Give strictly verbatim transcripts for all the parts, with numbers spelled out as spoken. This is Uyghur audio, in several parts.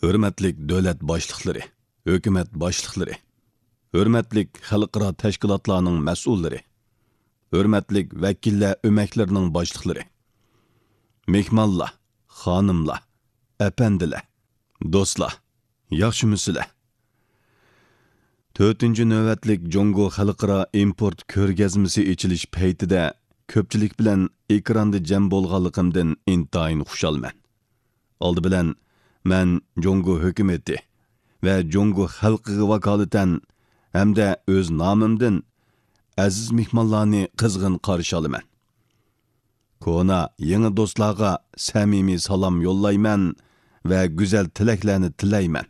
ھۆرمەتلىك دۆلەت باشلىقلىرى، ھۆكۈمەت باشلىقلىرى، ھۆرمەتلىك خەلقئارا تەشكىلاتلارنىڭ مەسئۇللىرى، ھۆرمەتلىك ۋەكىللەر ئۆمەكلىرىنىڭ باشلىقلىرى، مېھمانلار، خانىملار، ئەپەندىلەر، دوستلار، ياخشىمۇسىلەر؟ تۆتىنچى نۆۋەتلىك جۇڭگو خەلقئارا ئىمپورت كۆرگەزمىسى ئېچىلىش پەيتىدە كۆپچىلىك بىلەن ئېكراندا جەم بولغانلىقىمدىن ئىنتايىن خۇشالمەن. ئالدى بىلەن مەن جۇڭگو ھۆكۈمىتى ۋە جۇڭگو خەلقىگە ۋاكالىتەن ھەمدە ئۆز نامىمدىن ئەزىز مېھمانلارنى قىزغىن قارشى ئالىمەن. كونا، يېڭى دوستلارغا سەمىمىي سالام يوللايمەن ۋە گۈزەل تىلەكلەرنى تىلەيمەن.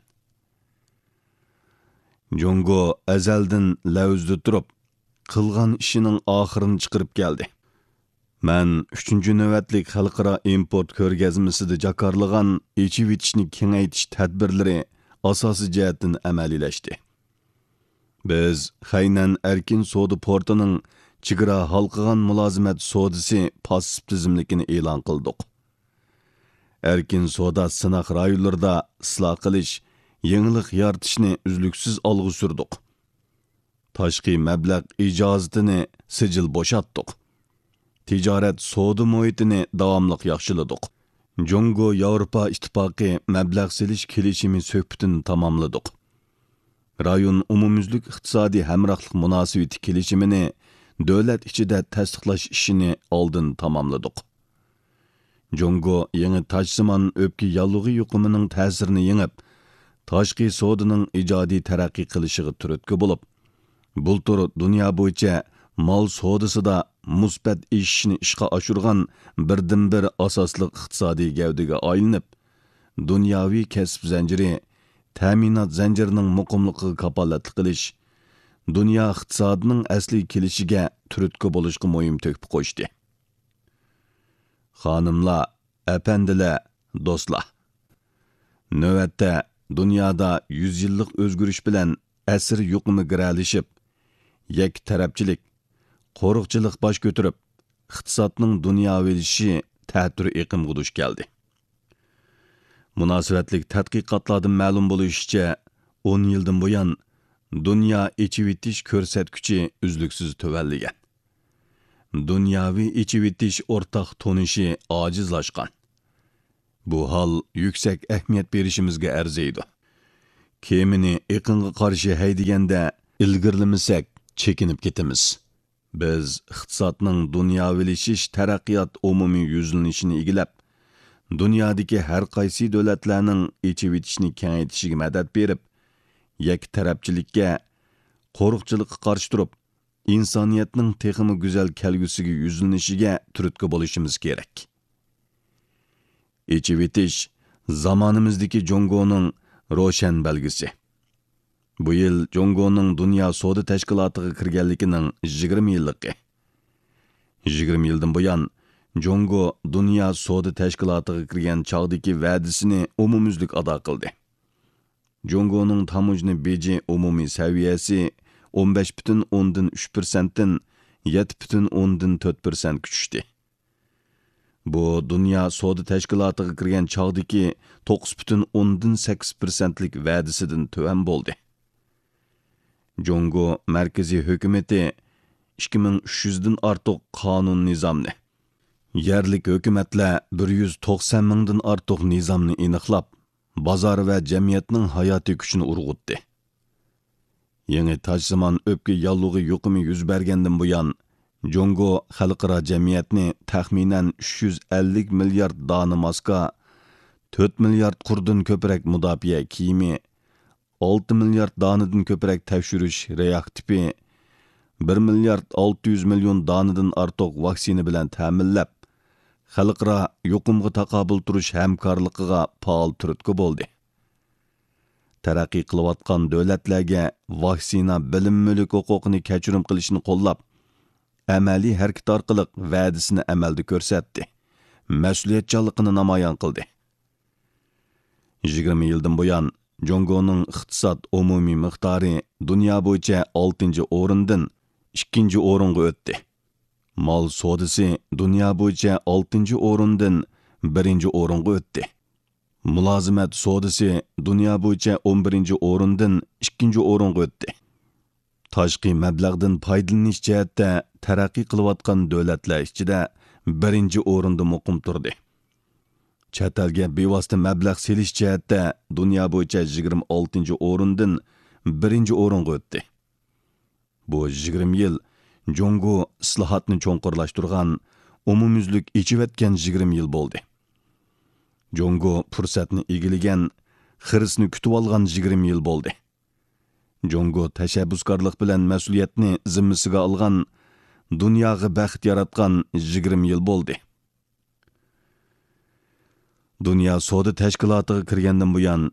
جۇڭگو ئەزەلدىن لەۋزىدە تۇرۇپ، قىلغان ئىشىنىڭ ئاخىرىنى چىقىرىپ كەلدى. مەن ئۈچىنچى نۆۋەتلىك خەلقئارا ئىمپورت كۆرگەزمىسىدە جاكارلىغان ئېچىۋېتىشنى كېڭەيتىش تەدبىرلىرى ئاساسىي جەھەتتىن ئەمەلىيلەشتى. بىز خەينەن ئەركىن سودا پورتىنىڭ چېگرا ھالقىغان مۇلازىمەت سودىسى پاسسىپ تىزىملىكىنى ئېلان قىلدۇق. ئەركىن سودا سىناق رايونلىرىدا ئىسلاھ قىلىش، يېڭىلىق يارىتىشنى ئۈزلۈكسىز ئالغا سۈردۇق. تاشقى مەبلەغ ئىجازىتىنى سىجىل بوشاتتۇق. تىجارەت سودا مۇھىتىنى داۋاملىق ياخشىلىدۇق. جۇڭگو ياۋروپا ئىتتىپاقى مەبلەغ سېلىش كېلىشىمى سۆھبىتىنى تاماملىدۇق. رايون ئومۇميۈزلۈك ئىقتىسادىي ھەمراھلىق مۇناسىۋىتى كېلىشىمىنى دۆلەت ئىچىدە تەستىقلاش ئىشىنى ئالدىن تاماملىدۇق. جۇڭگو يېڭى تاجسىمان ئۆپكە ياللۇغى يۇقۇمىنىڭ تەسىرىنى يېڭىپ، تاشقى سودىنىڭ ئىجادىي تەرەققىي قىلىشىغا تۈرتكە بولۇپ، بۇلتۇر دۇنيا بويىچە مال سودىسىدا مۇسبەت ئېشىشنى ئىشقا ئاشۇرغان بىردىنبىر ئاساسلىق ئىقتىسادىي گەۋدىگە ئايلىنىپ، دۇنياۋى كەسىپ زەنجىرى، تەمىنات زەنجىرىنىڭ مۇقىملىقىغا كاپالەتلىك قىلىش، دۇنيا ئىقتىسادىنىڭ ئەسلىگە كېلىشىگە تۈرتكە بولۇشقا مۇھىم تۆھپە قوشتى. خانىملار، ئەپەندىلەر، دوستلار! نۆۋەتتە دۇنيادا يۈز يىللىق ئۆزگىرىش بىلەن ئەسىر يۇقۇمى گىرەلىشىپ، يەككە تەرەپچىلىك، قورۇقچىلىق باش كۆتۈرۈپ، ئىقتىسادنىڭ دۇنياۋىلىشىشى تەتۈر ئېقىمغا دۇچ كەلدى. مۇناسىۋەتلىك تەتقىقاتلاردىن مەلۇم بولۇشىچە، ئون يىلدىن بۇيان دۇنيا ئېچىۋېتىش كۆرسەتكۈچى ئۈزلۈكسىز تۆۋەنلىگەن. دۇنياۋى ئېچىۋېتىش ئورتاق تونۇشى ئاجىزلاشقان. بۇ ھال يۈكسەك ئەھمىيەت بېرىشىمىزگە ئەرزىيدۇ. كېمىنى ئېقىنغا قارشى ھەيدىگەندە ئىلگىرىلىمىسەك، چېكىنىپ كېتىمىز. بىز ئىقتىسادنىڭ دۇنياۋىلىشىش تەرەققىيات ئومۇمىي يۈزلىنىشىنى ئىگىلەپ، دۇنيادىكى ھەر قايسى دۆلەتلەرنىڭ ئېچىۋېتىشنى كېڭەيتىشىگە مەدەت بېرىپ، يەككە تەرەپچىلىككە، قورۇقچىلىققا قارشى تۇرۇپ، ئىنسانىيەتنىڭ تېخىمۇ گۈزەل كەلگۈسىگە يۈزلىنىشىگە تۈرتكە بولۇشىمىز كېرەك. ئېچىۋېتىش زامانىمىزدىكى جۇڭگونىڭ روشەن بەلگىسى. بۇ يىل جۇڭگونىڭ دۇنيا سودا تەشكىلاتىغا كىرگەنلىكىنىڭ يىگىرمە يىللىقى. يىگىرمە يىلدىن بۇيان، جۇڭگو دۇنيا سودا تەشكىلاتىغا كىرگەن چاغدىكى ۋەدىسىنى ئومۇميۈزلۈك ئادا قىلدى. جۇڭگونىڭ تاموژنا بېجى ئومۇمىي سەۋىيەسى ئون بەش پۈتۈن ئوندىن ئۈچ پىرسەنتتىن يەتتە پۈتۈن ئوندىن تۆت پىرسەنتكە چۈشتى. بۇ دۇنيا سودا تەشكىلاتىغا كىرگەن چاغدىكى توققۇز پۈتۈن ئوندىن سەككىز پىرسەنتلىك ۋەدىسىدىن تۆۋەن بولدى. جۇڭگو مەركىزىي ھۆكۈمىتى ئىككى مىڭ ئۈچ يۈزدىن ئارتۇق قانۇن نىزامنى، يەرلىك ھۆكۈمەتلەر بىر يۈز توقسان مىڭدىن ئارتۇق نىزامنى ئېنىقلاپ، بازار ۋە جەمئىيەتنىڭ ھاياتىي كۈچىنى ئۇرغۇتتى. يېڭى تاجسىمان ئۆپكە ياللۇغى يۇقۇمى يۈز بەرگەندىن بۇيان، جۇڭگو خەلقئارا جەمئىيەتنى تەخمىنەن ئۈچ يۈز ئەللىك مىليارد دانە ماسكا، تۆت مىليارد قۇردىن كۆپرەك مۇداپىئە كىيىمى، ئالتە مىليارد دانىدىن كۆپرەك تەكشۈرۈش رېئاكتىپى، بىر مىليارد ئالتە يۈز مىليون دانىدىن ئارتۇق ۋاكسىنا بىلەن تەمىنلەپ، خەلقئارا يۇقۇمغا تاقابىل تۇرۇش ھەمكارلىقىغا پائال تۈرتكە بولدى. تەرەققىي قىلىۋاتقان دۆلەتلەرگە ۋاكسىنا بىلىم مۈلۈك ھوقۇقىنى كەچۈرۈم قىلىشنى قوللاپ، ئەمەلىي ھەرىكىتى ئارقىلىق ۋەدىسىنى ئەمەلدە كۆرسەتتى، مەسئۇلىيەتچانلىقىنى نامايان قىلدى. يىگىرمە يىلدىن بۇيان، جۇڭگونىڭ ئىقتىساد ئومۇمىي مىقدارى دۇنيا بويىچە ئالتىنچى ئورۇندىن ئىككىنچى ئورۇنغا ئۆتتى. مال سودىسى دۇنيا بويىچە ئالتىنچى ئورۇندىن بىرىنچى ئورۇنغا ئۆتتى. مۇلازىمەت سودىسى دۇنيا بويىچە ئون بىرىنچى ئورۇندىن ئىككىنچى ئورۇنغا ئۆتتى. تاشقى مەبلەغدىن پايدىلىنىش جەھەتتە تەرەققىي قىلىۋاتقان دۆلەتلەر ئىچىدە بىرىنچى ئورۇندا مۇقىم تۇردى. چەت ئەلگە بىۋاسىتە مەبلەغ سېلىش جەھەتتە دۇنيا بويىچە يىگىرمە ئالتىنچى ئورۇندىن بىرىنچى ئورۇنغا ئۆتتى. بۇ يىگىرمە يىل جۇڭگو ئىسلاھاتنى چوڭقۇرلاشتۇرغان، ئومۇميۈزلۈك ئېچىۋەتكەن يىگىرمە يىل بولدى. جۇڭگو پۇرسەتنى ئىگىلىگەن، خىرىسنى كۈتۈۋالغان يىگىرمە يىل بولدى. جۇڭگو تەشەببۇسكارلىق بىلەن مەسئۇلىيەتنى زىممىسىگە ئالغان، دۇنياغا بەخت ياراتقان يىگىرمە يىل بولدى. دۇنيا سودا تەشكىلاتىغا كىرگەندىن بۇيان،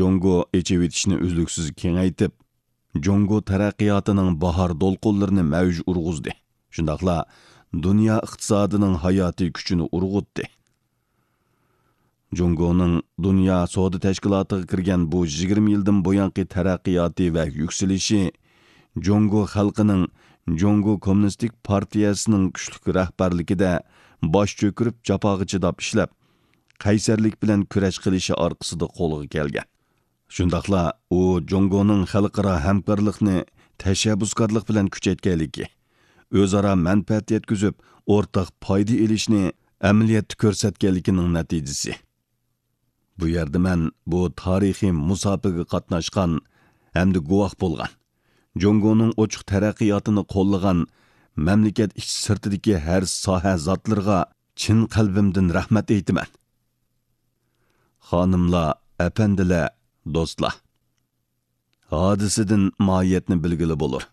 جۇڭگو ئېچىۋېتىشنى ئۈزلۈكسىز كېڭەيتىپ، جۇڭگو تەرەققىياتىنىڭ باھار دولقۇنلىرىنى مەۋج ئۇرغۇزدى. شۇنداقلا دۇنيا ئىقتىسادىنىڭ ھاياتىي كۈچىنى ئۇرغۇتتى. جۇڭگونىڭ دۇنيا سودا تەشكىلاتىغا كىرگەن بۇ يىگىرمە يىلدىن بۇيانقى تەرەققىياتى ۋە يۈكسىلىشى جۇڭگو خەلقىنىڭ جۇڭگو كوممۇنىستىك پارتىيەسىنىڭ كۈچلۈك رەھبەرلىكىدە باش چۆكۈرۈپ جاپاغا چىداپ ئىشلەپ، قەيسەرلىك بىلەن كۈرەش قىلىشى ئارقىسىدا قولغا كەلگەن. شۇنداقلا ئۇ جۇڭگونىڭ خەلقئارا ھەمكارلىقنى تەشەببۇسكارلىق بىلەن كۈچەيتكەنلىكى، ئۆزئارا مەنپەئەت يەتكۈزۈپ، ئورتاق پايدا ئېلىشنى ئەمەلىيەتتە كۆرسەتكەنلىكىنىڭ نەتىجىسى. بۇ يەردە مەن بۇ تارىخىي مۇساپىگە قاتناشقان ھەمدە گۇۋاھ بولغان، جۇڭگونىڭ ئوچۇق تەرەققىياتىنى قوللىغان مەملىكەت ئىچى سىرتىدىكى ھەر ساھە زاتلىرىغا چىن قەلبىمدىن رەھمەت ئېيتىمەن. خانىملار، ئەپەندىلەر، دوستلار! ھادىسىدىن ماھىيەتنى بىلگىلى بولۇر.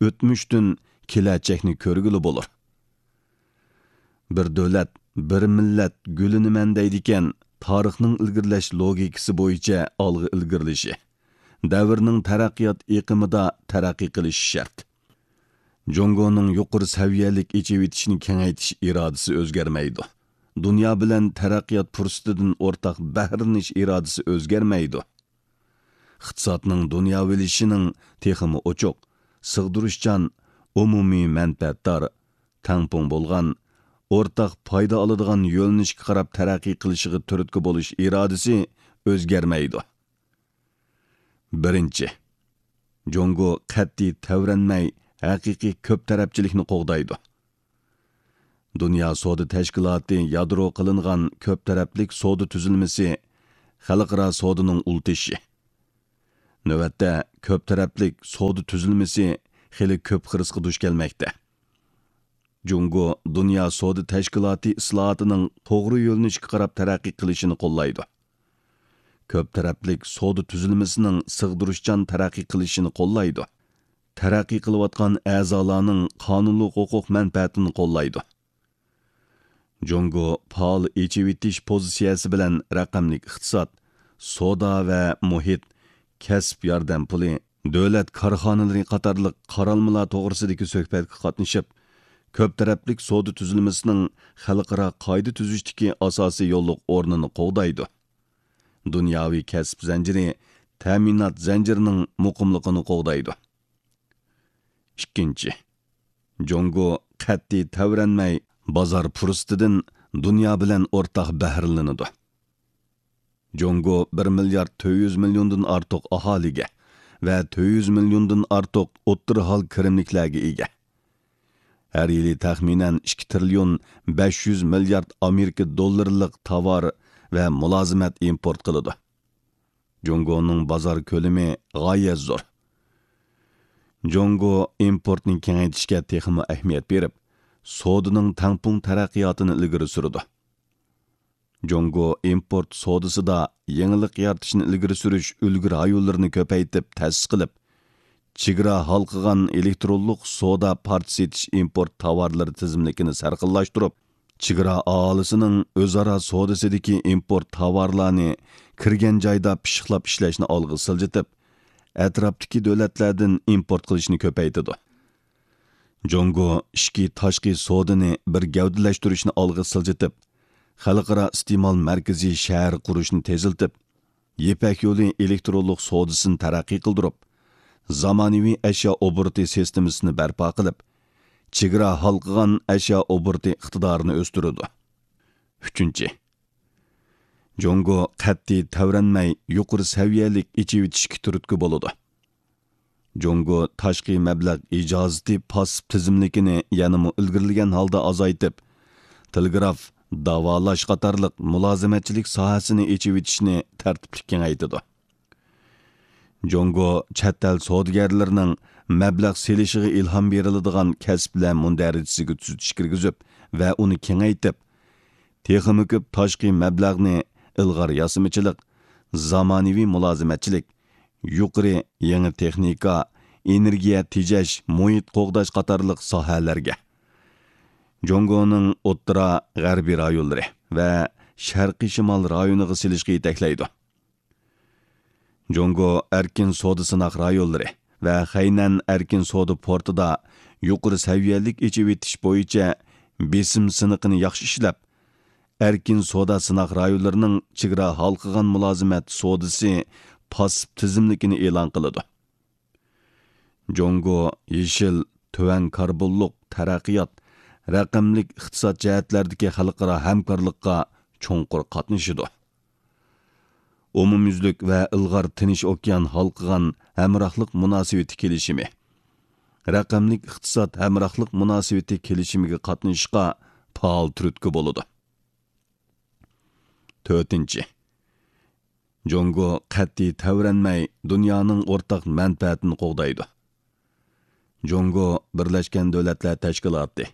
ئۆتمۈشتىن كېلەچەكنى كۆرگىلى بولۇر. بىر دۆلەت، بىر مىللەت گۈللىنىمەن دەيدىكەن، تارىخنىڭ ئىلگىرىلەش لوگىكىسى بويىچە ئالغا ئىلگىرىلىشى، دەۋرنىڭ تەرەققىيات ئېقىمىدا تەرەققىي قىلىشى شەرت. جۇڭگونىڭ يۇقىرى سەۋىيەلىك ئېچىۋېتىشنى كېڭەيتىش ئىرادىسى ئۆزگەرمەيدۇ. دۇنيا بىلەن تەرەققىيات پۇرسىتىدىن ئورتاق بەھرىلىنىش ئىرادىسى ئۆزگەرمەيدۇ. ئىقتىسادنىڭ دۇنياۋىلىشىشىنىڭ تېخىمۇ ئوچۇق، سىغدۇرۇشچان، ئومۇمىي مەنپەئەتدار، تەڭپۇڭ بولغان، ئورتاق پايدا ئالىدىغان يۆنىلىشكە قاراپ تەرەققىي قىلىشىغا تۈرتكە بولۇش ئىرادىسى ئۆزگەرمەيدۇ. بىرىنچى، جۇڭگو قەتئىي تەۋرەنمەي، ھەقىقىي كۆپ تەرەپچىلىكنى قوغدايدۇ. دۇنيا سودا تەشكىلاتى يادرو قىلىنغان كۆپ تەرەپلىك سودا تۈزۈلمىسى خەلقئارا سودىنىڭ ئۇل تېشى. نۆۋەتتە، كۆپ تەرەپلىك سودا تۈزۈلمىسى خېلى كۆپ خىرىسقا دۇچ كەلمەكتە. جۇڭگو دۇنيا سودا تەشكىلاتى ئىسلاھاتىنىڭ توغرا يۆنىلىشكە قاراپ تەرەققىي قىلىشىنى قوللايدۇ. كۆپ تەرەپلىك سودا تۈزۈلمىسىنىڭ سىغدۇرۇشچان تەرەققىي قىلىشىنى قوللايدۇ. تەرەققىي قىلىۋاتقان ئەزالارنىڭ قانۇنلۇق ھوقۇق مەنپەئەتىنى قوللايدۇ. جۇڭگو پائال ئېچىۋېتىش پوزىتسىيەسى بىلەن رەقەملىك ئىقتىساد، سودا ۋە مۇھىت، كەسىپ ياردەم پۇلى، دۆلەت كارخانىلىرى قاتارلىق قارالمىلار توغرىسىدىكى سۆھبەتكە قاتنىشىپ، كۆپ تەرەپلىك سودا تۈزۈلمىسىنىڭ خەلقئارا قائىدە تۈزۈشتىكى ئاساسىي يوللۇق ئورنىنى قوغدايدۇ. دۇنياۋى كەسىپ زەنجىرى، تەمىنات زەنجىرىنىڭ مۇقىملىقىنى قوغدايدۇ. ئىككىنچى، جۇڭگو قەتئىي تەۋرەنمەي، بازار پۇرسىتىدىن دۇنيا بىلەن ئورتاق بەھرىلىنىدۇ. جۇڭگو بىر مىليارد تۆت يۈز مىليوندىن ئارتۇق ئاھالىگە ۋە تۆت يۈز مىليوندىن ئارتۇق ئوتتۇرا ھال كىرىملىكلەرگە ئىگە. ھەر يىلى تەخمىنەن ئىككى تىرىليون بەش يۈز مىليارد ئامېرىكا دوللىرىلىق تاۋار ۋە مۇلازىمەت ئىمپورت قىلىدۇ. جۇڭگونىڭ بازار كۆلىمى غايەت زور. جۇڭگو ئىمپورتنى كېڭەيتىشكە تېخىمۇ ئەھمىيەت بېرىپ، سودىنىڭ تەڭپۇڭ تەرەققىياتىنى ئىلگىرى سۈرىدۇ. جۇڭگو ئىمپورت سودىسىدا يېڭىلىق يارىتىشنى ئىلگىرى سۈرۈش ئۈلگە رايونلىرىنى كۆپەيتىپ تەسىس قىلىپ، چېگرا ھالقىغان ئېلېكترونلۇق سودا پارچە سېتىش ئىمپورت تاۋارلىرى تىزىملىكىنى سەرخىللاشتۇرۇپ، چېگرا ئاھالىسىنىڭ ئۆزئارا سودىسىدىكى ئىمپورت تاۋارلارنى كىرگەن جايدا پىششىقلاپ ئىشلەشنى ئالغا سىلجىتىپ، ئەتراپتىكى دۆلەتلەردىن ئىمپورت قىلىشنى كۆپەيتىدۇ. جۇڭگو ئىچكى تاشقى سودىنى بىر گەۋدىلەشتۈرۈشنى ئالغا سىلجىتىپ، خەلقئارا ئىستېمال مەركىزى شەھەر قۇرۇشنى تېزلىتىپ، يىپەك يولى ئېلېكترونلۇق سودىسىنى تەرەققىي قىلدۇرۇپ، زامانىۋى ئەشيا ئوبوروتى سىستېمىسىنى بەرپا قىلىپ، چېگرا ھالقىغان ئەشيا ئوبوروتى ئىقتىدارىنى ئۆستۈرىدۇ. ئۈچىنچى، جۇڭگو قەتئىي تەۋرەنمەي يۇقىرى سەۋىيەلىك ئېچىۋېتىشكە تۈرتكە بولىدۇ. جۇڭگو تاشقى مەبلەغ ئىجازىتى پاسسىپ تىزىملىكىنى يەنىمۇ ئىلگىرىلىگەن ھالدا ئازايتىپ، تېلېگراف، داۋالاش قاتارلىق مۇلازىمەتچىلىك ساھەسىنى ئېچىۋېتىشنى تەرتىپلىك كېڭەيتىدۇ. جۇڭگو چەت ئەل سودىگەرلىرىنىڭ مەبلەغ سېلىشىغا ئىلھام بېرىلىدىغان كەسىپلەر مۇندەرىجىسىگە تۈزىتىش كىرگۈزۈپ ۋە ئۇنى كېڭەيتىپ، تېخىمۇ كۆپ تاشقى مەبلەغنى ئىلغار ياسىمىچىلىق، زامانىۋى مۇلازىمەتچىلىك، يۇقىرى يېڭى تېخنىكا، ئېنېرگىيە تېجەش، مۇھىت قوغداش قاتارلىق ساھەلەرگە، جۇڭگونىڭ ئوتتۇرا، غەربىي رايونلىرى ۋە شەرقىي شىمال رايونىغا سېلىشقا يېتەكلەيدۇ. جۇڭگو ئەركىن سودا سىناق رايونلىرى ۋە خەينەن ئەركىن سودا پورتىدا يۇقىرى سەۋىيەلىك ئېچىۋېتىش بويىچە بېسىم سىنىقىنى ياخشى ئىشلەپ، ئەركىن سودا سىناق رايونلىرىنىڭ چېگرا ھالقىغان مۇلازىمەت سودىسى پاسسىپ تىزىملىكىنى ئېلان قىلىدۇ. جۇڭگو يېشىل، تۆۋەن كاربونلۇق تەرەققىيات، رەقەملىك ئىقتىساد جەھەتلەردىكى خەلقئارا ھەمكارلىققا چوڭقۇر قاتنىشىدۇ. ئومۇميۈزلۈك ۋە ئىلغار تىنچ ئوكيان ھالقىغان ھەمراھلىق مۇناسىۋىتى كېلىشىمى، رەقەملىك ئىقتىساد ھەمراھلىق مۇناسىۋىتى كېلىشىمىگە قاتنىشىشقا پائال تۈرتكە بولىدۇ. تۆتىنچى، جۇڭگو قەتئىي تەۋرەنمەي دۇنيانىڭ ئورتاق مەنپەئەتىنى قوغدايدۇ. جۇڭگو بىرلەشكەن دۆلەتلەر تەشكىلاتى،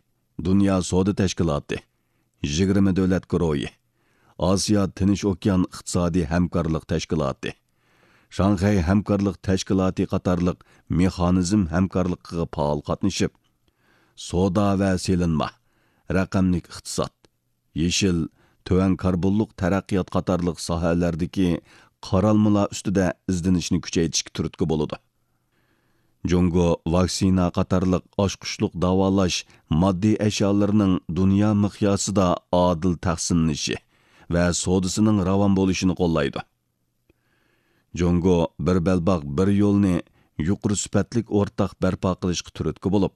دۇنيا سودا تەشكىلاتى، يىگىرمە دۆلەت گۇرۇھى، ئاسىيا تىنچ ئوكيان ئىقتىسادىي ھەمكارلىق تەشكىلاتى، شاڭخەي ھەمكارلىق تەشكىلاتى قاتارلىق مېخانىزم ھەمكارلىقىغا پائال قاتنىشىپ، سودا ۋە سېلىنما، رەقەملىك ئىقتىساد، يېشىل، تۆۋەن كاربونلۇق تەرەققىيات قاتارلىق ساھەلەردىكى قارالمىلار ئۈستىدە ئىزدىنىشنى كۈچەيتىشكە تۈرتكە بولىدۇ. جۇڭگو ۋاكسىنا قاتارلىق ئاچقۇچلۇق داۋالاش ماددىي ئەشيالىرىنىڭ دۇنيا مىقياسىدا ئادىل تەقسىملىنىشى ۋە سودىسىنىڭ راۋان بولۇشىنى قوللايدۇ. جۇڭگو بىر بەلباغ، بىر يولنى يۇقىرى سۈپەتلىك ئورتاق بەرپا قىلىشقا تۈرتكە بولۇپ،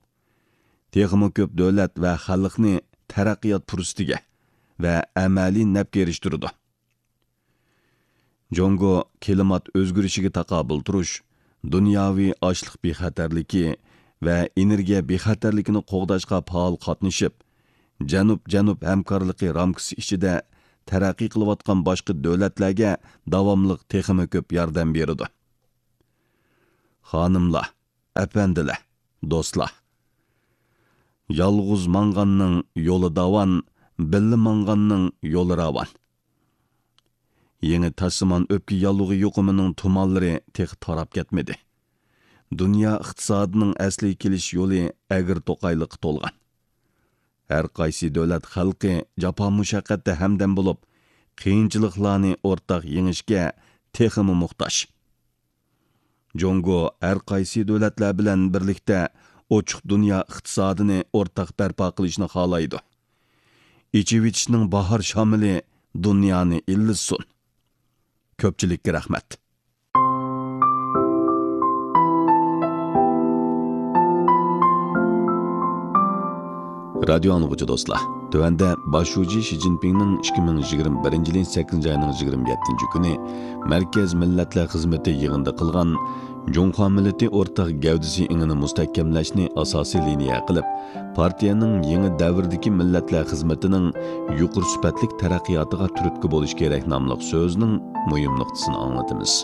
تېخىمۇ كۆپ دۆلەت ۋە خەلقنى تەرەققىيات پۇرسىتىگە ۋە ئەمەلىي نەپكە ئېرىشتۈرىدۇ. جۇڭگو كىلىمات ئۆزگىرىشىگە تاقابىل تۇرۇش، دۇنياۋى ئاشلىق بىخەتەرلىكى ۋە ئېنېرگىيە بىخەتەرلىكىنى قوغداشقا پائال قاتنىشىپ، جەنۇب-جەنۇب ھەمكارلىقى رامكىسى ئىچىدە تەرەققىي قىلىۋاتقان باشقا دۆلەتلەرگە داۋاملىق تېخىمۇ كۆپ ياردەم بېرىدۇ. خانىملار، ئەپەندىلەر، دوستلار! يالغۇز ماڭغاننىڭ يولى داۋان، بىللە ماڭغاننىڭ يولى راۋان. يېڭى تاشسىمان ئۆپكە ياللۇغى يۇقۇمىنىڭ تۇمانلىرى تېخى تاراپ كەتمىدى. دۇنيا ئىقتىسادىنىڭ ئەسلىگە كېلىش يولى ئەگرى توقايلىققا تولغان. ھەر قايسى دۆلەت خەلقى جاپا مۇشەققەتتە ھەمدەم بولۇپ، قىيىنچىلىقلارنى ئورتاق يېڭىشكە تېخىمۇ موھتاج. جۇڭگو ھەر قايسى دۆلەتلەر بىلەن بىرلىكتە ئوچۇق دۇنيا ئىقتىسادىنى ئورتاق بەرپا قىلىشنى خالايدۇ. ئېچىۋېتىشنىڭ باھار شامىلى دۇنيانى ئىللىتسۇن! كۆپچىلىككە رەھمەت. رادىيو ئاڭلىغۇچى دوستلار، تۆۋەندە باش شۇجى شى جىنپىڭنىڭ ئىككى مىڭ يىگىرمە بىرىنچى يىلى سەككىزىنچى ئاينىڭ يىگىرمە يەتتىنچى كۈنى مەركەز مىللەتلەر خىزمىتى يىغىنىدا قىلغان جۇڭخۇا مىللىتى ئورتاق گەۋدىسى ئېڭىنى مۇستەھكەملەشنى ئاساسىي لىنىيە قىلىپ، پارتىيەنىڭ يېڭى دەۋردىكى مىللەتلەر خىزمىتىنىڭ يۇقىرى سۈپەتلىك تەرەققىياتىغا تۈرتكە بولۇش كېرەك ناملىق سۆزىنىڭ مۇھىم نۇقتىسىنى ئاڭلىتىمىز.